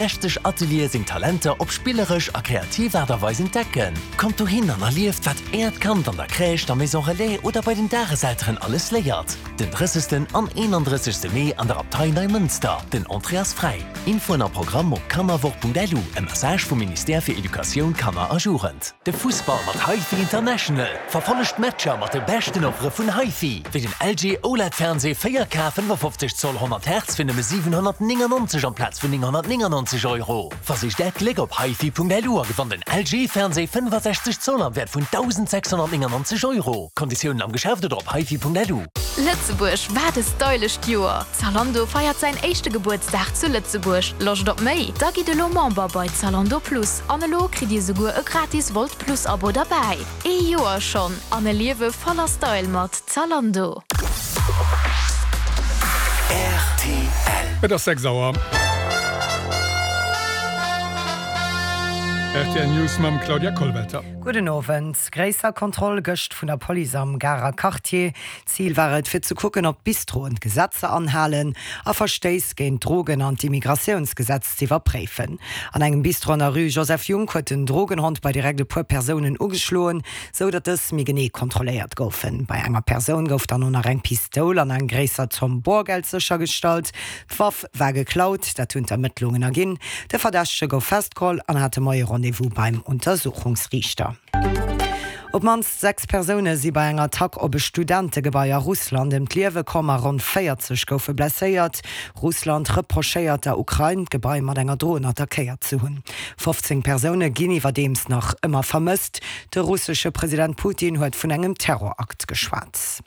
60 Ateliere seng Talenter op spilleresch a kreativ Aart a Weis entdecken. Kommt dohin an erlieft, wat Äert Kand an der Crèche, der Maison Relais oder bei den Dageselteren alles léiert. Den 30. an 31. Mee an der Abtei Neimënster. Den Entrée ass fräi. Infoen a Programm op kannerwoch.lu. E Message vum Ministère fir Educatioun, Kanner a Jugend. De Fussball mat HiFi International. Verfollegt d'Matcher mat de beschten Offere vun HiFi, wéi den LG OLED Fernseh 4K 55 Zoll 100 Hertz fir nëmme 799 amplaz vun 999 Euro. Versicht Äert Gléck op hifi.lu a gewannt en LG Fernseh 65 Zoll am Wäert vun 1.699 Euro. Konditiounen am Geschäft oder op hifi.lu. Lëtzebuerg, wat e stylescht Joer! Zalando feiert säin éischte Gebuertsdag zu Lëtzebuerg. Loscht op méi? Da gitt elo Member bei Zalando Plus an elo kritt dir souguer e gratis Wolt Plus Abo derbäi. Ee Joer schonn an e Liewe voller Style mat Zalando. Rtl. Et ass 6 Auer. Rtl News mam Claudia Kollwelter. Gudden Owend. Gréisser Kontroll gëscht vun der Police am Garer Quartier. Zil war et, fir ze kucken, ob d'Bistroen d'Gesetzer anhalen a Verstéiss géint d'Drogen an d'Immigratiounsgesetz z'iwwerpréifen. An engem Bistro an der Rue Joseph Junck huet den Drogenhond bei direkt e puer Persounen ugeschloen, sou datt dës méi genee kontrolléiert goufen. Bei enger Persoun gouf dann och nach eng Pistoul an eng gréisser Zomm Borgeld séchergestallt. D'Waff war geklaut, dat hunn d'Ermëttlungen erginn. De Verdächtege gouf festgeholl an hat de Moie Rendez-vous beim Untersuchungsriichter. Op d'mannst 6 Persoune si bei enger Attack op e Studentegebai a Russland ëm d'Liewe komm a ronn 40 goufe blesséiert. Russland reprochéiert der Ukrain, d'Gebai mat enger Dron attackéiert ze hunn. 15 Persoune ginn iwwerdeems nach ëmmer vermësst. De russesche President Putin huet vun engem Terrorakt geschwat.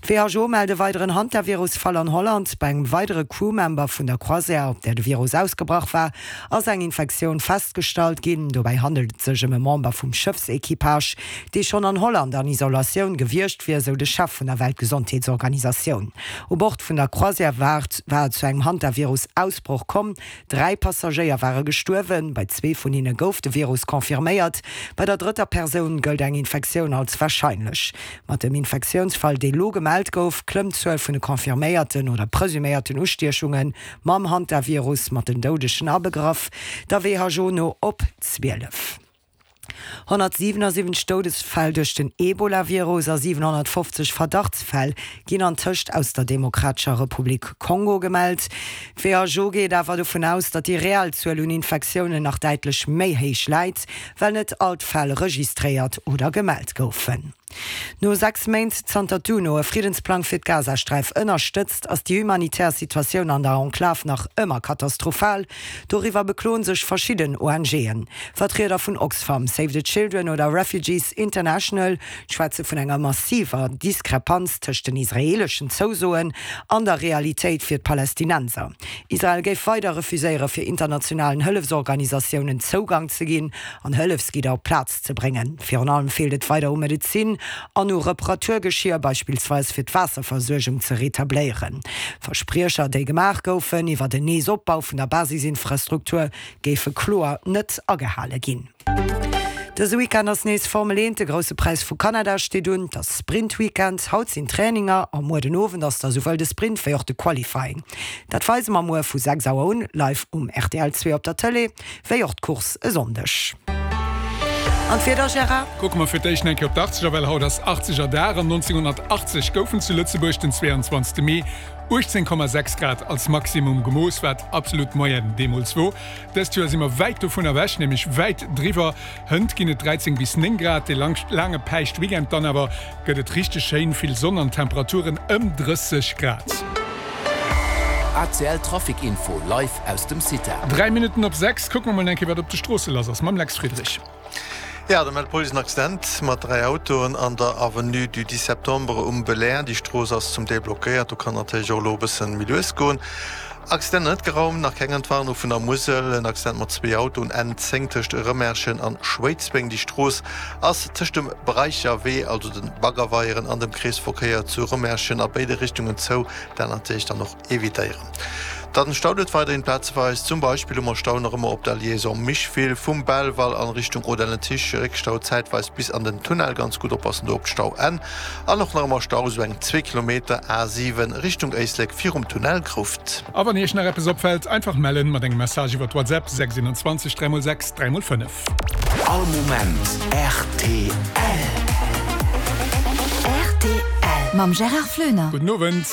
D'WHO mellt e weideren Hantavirus-Fall an Holland. Bei engem weidere Crewmember vun der Croisière, op där de Virus ausgebrach war, ass eng Infektioun festgestallt ginn. Dobäi handelt et sech ëm e Member vum Schëffsequipage, dee schonn an Holland an Isolatioun gewiescht wier, sou de Chef vun der Weltgesondheetsorganisatioun. U Bord vun der Croisière war et zu engem Hantavirus-Ausbroch komm. 3 Passagéier ware gestuerwen, bei zwee vun hinne gouf de Virus confirméiert. Bei der drëtter Persoun gëllt eng Infektioun als warscheinlech. Mat dem Infektiounsfall, dee lo gemellt gouf, klëmmt d'Zuel vun de confirméierten oder presuméierten Ustiechunge mam Hantavirus, mat den Doudegen abegraff, der WHO no op 12. 177 Doudesfäll duerch den Ebola-Virus a 750 Verdachtsfäll ginn antëscht aus der Demokratescher Republik Kongo gemellt. D'WHO geet awer dovun aus, datt déi reell Zuel un Infektiounen nach däitlech méi héich läit, well net all d'Fäll registréiert oder gemellt goufen. No 6 Méint, zanter d'UNO e Friddensplang fir d'Gazasträif ënnerstëtzt, ass déi humanitär Situatioun an der Enklav nach ëmmer katastrophal. Doriwwer bekloen sech verschidden ONGen. Vertrieder vun Oxfam, Save the Children oder Refugees International schwätze vun enger massiver Diskrepanz tëscht den israeeleschen Zousoen an der Realitéit fir d'Palästinenser. Israel géif weider refuséiere fir internationalen Hëllefsorganisatiounen Zougang ze ginn an Hëllefsgidder op d'Plaz ze bréngen. Virun allem feelt et weider u Medezin an u Reparaturgeschier, beispillsweis fir d'Waasserversuergung ze retabléieren. Verspriecher, déi gemaach goufen iwwer en Neesopbau vun der Basisinfrastruktur, géife kloer net agehale ginn. Dëse Weekend ass nees Formel 1, de Grousse Präis vu Kanada steet un. Et ass Sprint-Weekend, haut sinn Traininger a muer den Owend ass da souwuel de Sprint wéi och de Qualifying. Dat weise mer muer vu 6 Auer un live um rtl 2 op der Tëlee. Wéi och d'Course e Sonndeg. An d'Wieder, Gérard? Kucke mer fir d'éischt eng Kéier op d'Achtzeger, well haut ass Achtzegerdag an 1980 goufen zu Lëtzebuerg den 22 Mee 18,6 Grad als Maximum gemooss, wat absolut d'Moyenne deemools wor. Dëst Joer si mer wäit dovun ewech, nämlech wäit driwwer. Hënt ginn et 13 bis 9 Grad, dee laange Päischtweekend dann awer gëtt et richteg schéin, vill Sonn an Temperaturen ëm 30 Grad. ACL Trafic Info live aus dem CITA. 3 Minutten op 6, kucke mer mol eng Kéier wat op de Stroosse lass ass mam Lex Friedrich. Jo, do mellt d'Police en Accident mat 3 Autoen an der Avenue du 10 Septembre um Belair. Déi Strooss ass zum Deel blockéiert, do kann natierlech och elo e bësse méi lues goen. Accident net geraumt, nach keng Entwarnung vun der Musel. En Accident mat zwee Autoen, N 10 tëscht Rëmerschen an Schwéidsbeng. Déi Strooss ass tëscht dem Bereicherwee, also den Baggerweieren, an dem Kreesverkéier zu Rëmerschen a béide Richtungen zou. Dat natierlech dann och evitéieren. Dann staut et weiderhin plazeweis. Zum Beispill hu mer Stau nach ëmmer op der Liaison Micheville vum Belval an Richtung Audun-le-Tiche, Réckstau zäitweis bis an den Tunnel, ganz gutt oppassen do op d'Stauenn. An och nach ëmmer Stau sou eng zwee Kilometer A7 Richtung Éislek virum Tunnel Grouft. A wann Iech nach eppes opfält, einfach mellen mat engem Message iwwert WhatsApp 621 3x 6 3x 5. All Moment rtl. Rtl mam Gérard Flöner. Gudden Owend.